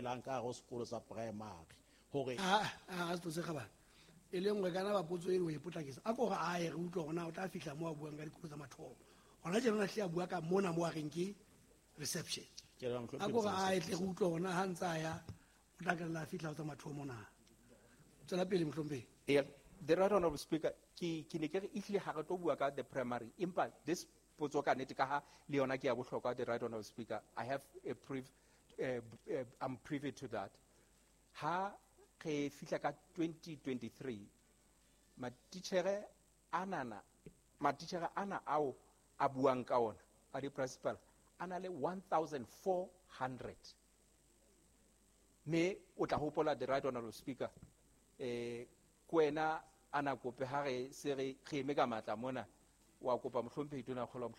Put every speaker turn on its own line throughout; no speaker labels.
welang ka hare ho sekolo sa primary hore
a se tse gabana e le nngwe kana ba potso e o e potlakisa a ko re a e re utlwa gona o tla fihla mo a buang ka dikolo tsa mathomo gona tjena hle a bua ka mona mo a reng ke reception a ko re a e tle re utlwa gona ha ntse a ya o tla kella a fihla ho tsa mathomo na. Tswela pele mohlomphehi.
Yeah, the right honorable speaker, ke ne ke re ehlile ha re tlo bua ka the primary, empa this potso ka nnete ka ha le yona ke ya bohlokwa, the right honorable speaker, I have a I'm privy to that. Ha re fihla ka 2023, matitjhere ana ao a buang ka ona a di-principal a na le 1400. Mme o tla hopola, the right honorable speaker, ke wena a na kope ha re se re eme ka matla mona, wa kopa mohlomphehi Tonakgolo,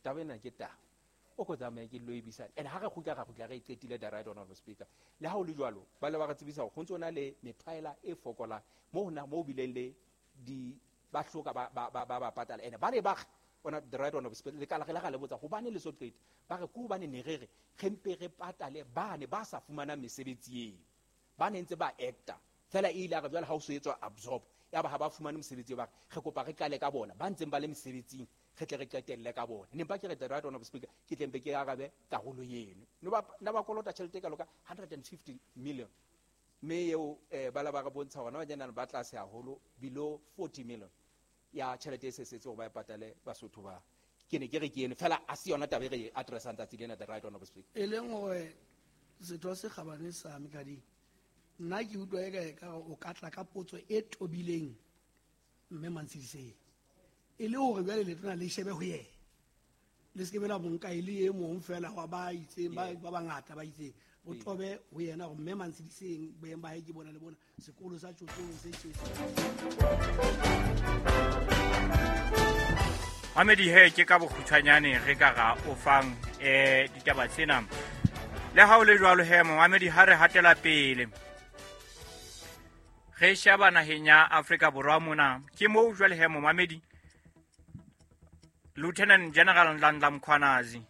taba ena ke taba o ko tsamaye ke lo e bisane. And ha re kgutla re e qetile, the right honorable speaker. Le ha o le jwalo, ba le ba re tsebisa hore ho ntso na le methwaela e fokolang mo hona mo bileng le di ba hloka ba patala. And ba ne ba ona, the right honorable speaker, le ka la le botsa hobane le so qete, ba re ke hobane ne re re mpe re patale ba ne ba sa fumana mesebetsi eo, ba ne ntse ba acta fela e ile a re jwale ha o so etswa absorb ya ba ha ba fumane mosebetsi, ba re kopa re qale ka bona ba ntseng ba le mesebetsing, re tle re qetelle ka bona. Ne mpa ke re, the right honorable speaker, ke tle mpe ke arabe karolo eno. No ba na ba kolota tjhelete ka loka 150 million, mme eo ba la ba re bontsha hore na ba ba tlase haholo, below 40 million ya tjhelete e sesetse hore ba e patale Basotho ba. Ke ne ke re ke eno fela, a se yona taba e re addressang tsatsi lena, the right honorable speaker.
E leng hore setho se kgabane sa Mekading, nna ke utlwa e ka o ka tla ka potso e tobileng mme Mantshidiseng, e le hore jwale letona le shebe ho yena, le se ke be la monka e le e mong fela wa ba itseng ba bangata ba itseng, o tobe ho yena hore mme Mantshidiseng boeng ba hae ke bona le bona sekolo sa Tsotsong se tjetse.
Mamedi he ke ka bokgutshwanyane re ka ra o fang ditaba tsena. Le ha o le jwalo he momamedi, ha re hatela pele re sheba naheng ya Afrika Borwa mona, ke moo jwale he momamedi Lieutenant General Nhlanhla Mkhwanazi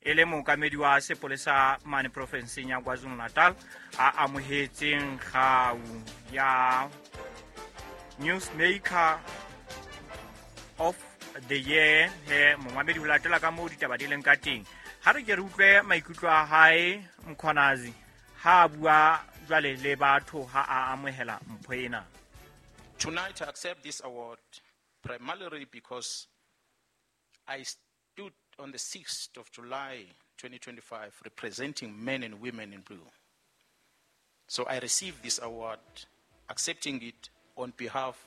e le mookamedi wa sepolesa mane profenseng ya KwaZulu-Natal a amohetseng kgau ya Newsmaker of the Year. He momamedi, ho latela ka moo ditaba di leng ka teng, ha re ke re utlwe maikutlo a hae Mkhwanazi ha a bua jwale le batho ha a amohela mpho ena.
Tonight I accept this award primarily because I stood on the 6th of July 2025 representing men and women in blue. So I received this award, accepting it on behalf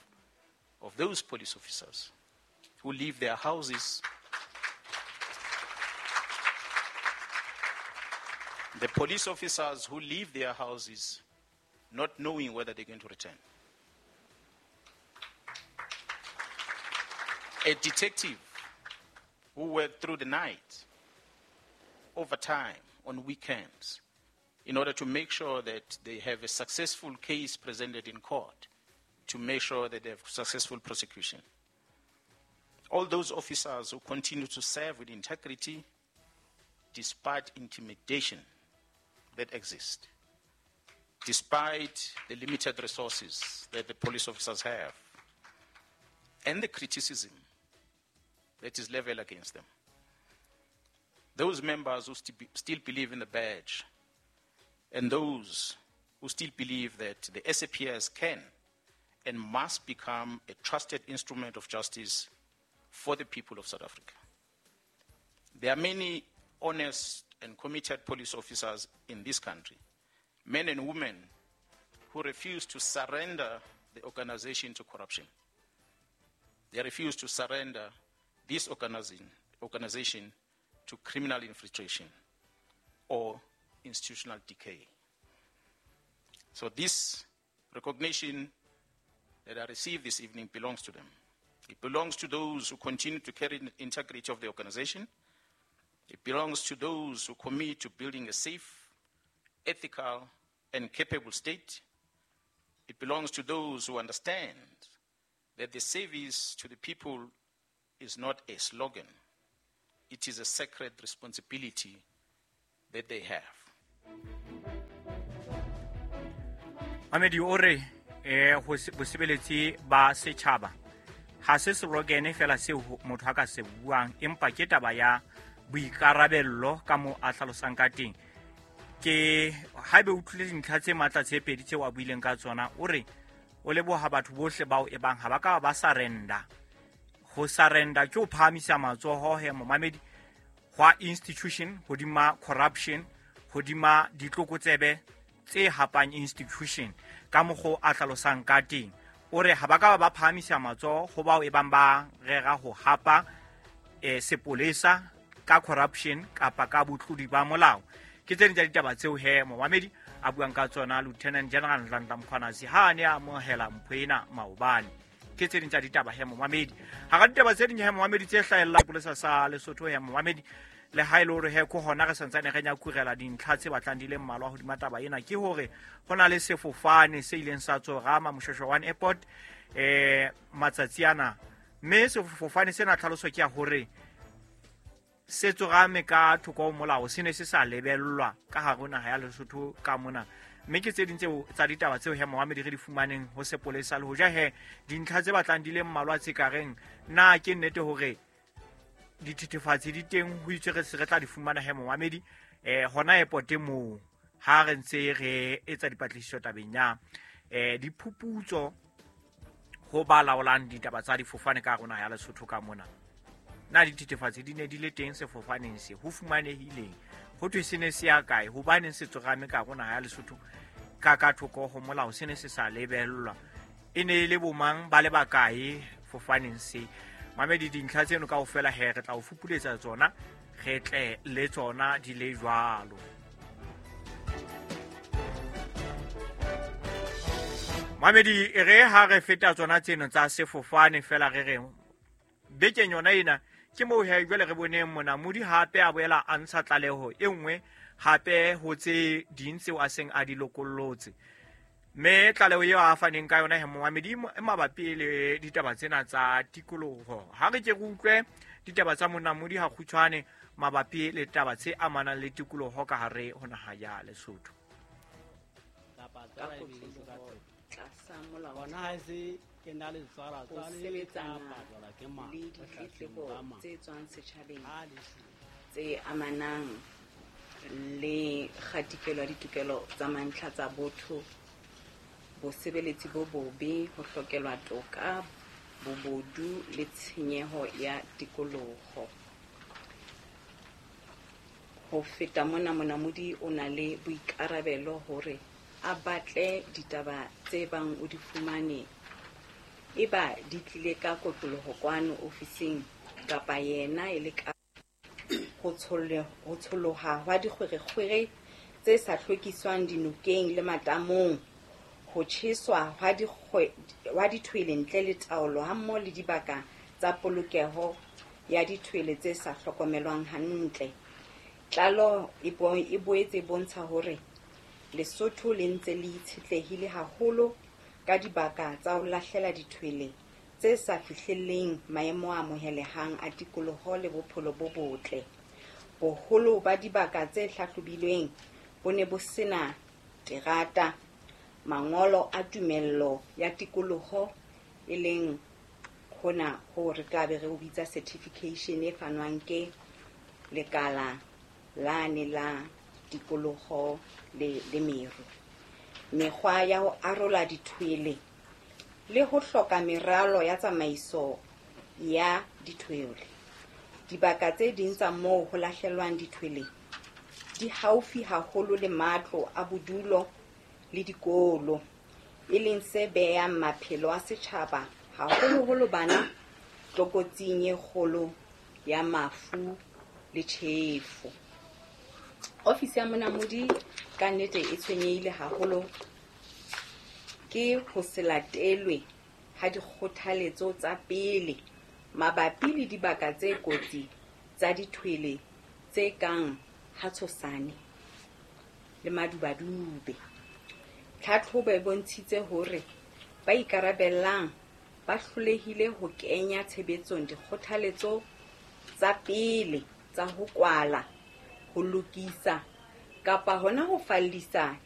of those police officers who leave their houses, the police officers who leave their houses not knowing whether they're going to return. A detective who worked through the night, overtime, on weekends, in order to make sure that they have a successful case presented in court, to make sure that they have successful prosecution. All those officers who continue to serve with integrity despite intimidation that exists, despite the limited resources that the police officers have, and the criticism that is leveled against them. Those members who still believe in the badge, and those who still believe that the SAPS can and must become a trusted instrument of justice for the people of South Africa. There are many honest and committed police officers in this country, men and women who refuse to surrender the organization to corruption. They refuse to surrender this organization to criminal infiltration or institutional decay. So this recognition that I received this evening belongs to them. It belongs to those who continue to carry the integrity of the organization. It belongs to those who commit to building a safe, ethical, and capable state. It belongs to those who understand that the service to the people is not a slogan. It is a sacred responsibility that they have.
Mamedi o re ho bosebeletsi ba setjhaba ha se slogan fela seo motho a ka se buang, empa ke taba ya boikarabello ka mo a hlalosang ka teng. Ke haebe o utlwile dintlha tse matla tse pedi tseo a buileng ka tsona, o re o leboha batho bohle bao e bang ha ba ka ba surrender. Ho surrender ke ho phahamisa matsoho he momamedi hwa institution hodima corruption, hodima ditlokotsebe tse hapang institution ka mokgo a hlalosang ka teng. O re ha ba ka ba phahamisa matsoho ho bao e bang ba rera ho hapa sepolesa ka corruption kapa ka botlodi ba molao. Ke tse ding tsa ditaba tseo he momamedi a buang ka tsona Lieutenant General Nhlanhla Mkhwanazi ha a ne a amohela mpho ena maobane. Ke tse ding tsa ditaba he momamedi. Hara ditaba tse ding he momamedi tse hlahella sepolesa sa Lesotho he momamedi, le ha e le hore he ko hona re santsane re nyakurela dintlha tse batlang di le mmalwa hodima taba ena, ke hore ho na le sefofane se ileng sa tsorama Moshoeshoe One Airport matsatsi ana, mme sefofane sena tlhaloso ke ya hore se tsorame ka thoko ho molao, se ne se sa lebellwa ka hare ho naha ya Lesotho ka mona. Mme ke tse ding tseo tsa ditaba tseo he momamedi re di fumaneng ho sepolesa, le hoja he dintlha tse batlang di le mmalwa tse ka reng na ke nnete hore dithethefatsi di teng, ho itswe re se re tla di fumana he momamedi hona airport moo ha re ntse re etsa dipatlisiso tabeng ya diphuputso ho ba laolang ditaba tsa difofane ka rona ya Lesotho ka mona. Na dithethefatsi di ne di le teng sefofaneng se, ho fumanehileng, ho thwe se ne se ya kae, hobaneng se tsorame ka rona ya Lesotho ka thoko ho molao, se ne se sa lebellwa, e ne e le bomang ba le bakae fofaneng se. Mamedi, dintlha tseno kaofela he re tla o fupuletsa tsona, re tle le tsona di le jwalo. Mamedi, re ha re feta tsona tseno tsa sefofane fela re re bekeng yona ena ke moo he jwale re boneng monamodi hape a boela a ntsha tlaleho e nngwe hape ho tse ding tseo a seng a di lokollotse. Mme tlaleho eo a faneng ka yona he momamedi e mabapi le ditaba tsena tsa tikoloho. Ha re ke re utlwe ditaba tsa monamodi ha kgutshwane mabapi le taba tse amanang le tikoloho ka hare ho naha ya Lesotho.
Ho sebetsana le ditletlebo tse tswang setjhabeng tse amanang le kgatikelo ya ditokelo tsa mantlha tsa botho, bosebeletsi bo bobe, ho hlokelwa toka, bobodu le tshenyeho ya tikoloho. Ho feta mona, monamodi o na le boikarabelo hore a batle ditaba tse bang o di fumane, eba di tlile ka kotloloho kwano ofising kapa yena e le ka ho tsholoha hwa dikgwerekgwere tse sa hlwekiswang dinokeng le matamong, ho tjheswa hwa dithwele ntle le taolo hammoho le dibaka tsa polokeho ya dithwele tse sa hlokomelwang hantle. Tlaleho e boetse e bontsha hore Lesotho le ntse le itshetlehile haholo ka dibaka tsa ho lahlela dithwele tse sa fihlelleng maemo a amohelehang a tikoloho le bophelo bo botle. Boholo ba dibaka tse hlahlobilweng bo ne bo sena terata, mangolo a tumello ya tikoloho, e leng hona ho re tla be re o bitsa certification e fanwang ke lekala lane la tikoloho le meru, mekgwa ya ho arola dithwele le ho hloka meralo ya tsamaiso ya dithwele. Dibaka tse ding tsa moo ho lahlelwang dithwele di haufi haholo le matlo a bodulo le dikolo, e leng se behang maphelo a setjhaba, haholoholo bana, tlokotsing e kgolo ya mafu le tjhefo. Ofisi ya monamodi ka nnete e tshwenyehile haholo ke ho se latelwe ha dikgothaletso tsa pele mabapi le dibaka tse kotsi tsa dithwele tse kang Hatshosane le Madubadube. Tlhatlhobo e bontshitse hore ba ikarabellang ba hlolehile ho kenya tshebetsong dikgothaletso tsa pele tsa ho kwala, ho lokisa kapa hona ho fallisa